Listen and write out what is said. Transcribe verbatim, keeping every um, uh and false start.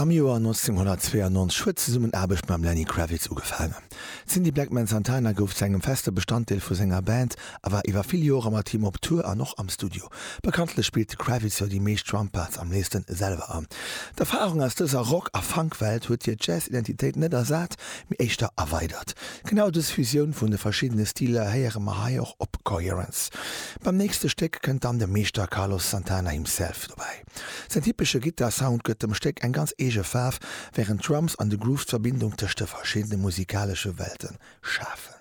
Am Joer neunzehnhundertzweiundneunzeg huet d'Zesummenaarbecht mam Lenny Kravitz ugefaangen. D'Cindy Blackman Santana gouf zu engem feste Bestanddeel vu senger Band a war iwwer vill Jore mat him op Tour an och am Studio. Bekanntlech spillt de Kravitz jo déi meescht Drumparts am léifste selwer an. D'Erfarung aus dëser Rock- a Funkwelt huet hir Jazz-Identitéit net ersat, mee éischter erweidert. Genau dës Fusioun vun de verschiddene Stiler héiere mer hei och op Coherence. Beim nächste Stéck kënnt dann de Meeschter Carlos Santana himself dobäi. Säin typesche Gittar-Sound gëtt dem Stéck eng ganz eege Faarf, wärend d'Drums an de Groove d'Verbindung tëscht de verschiddene musikalesche Welte schafen.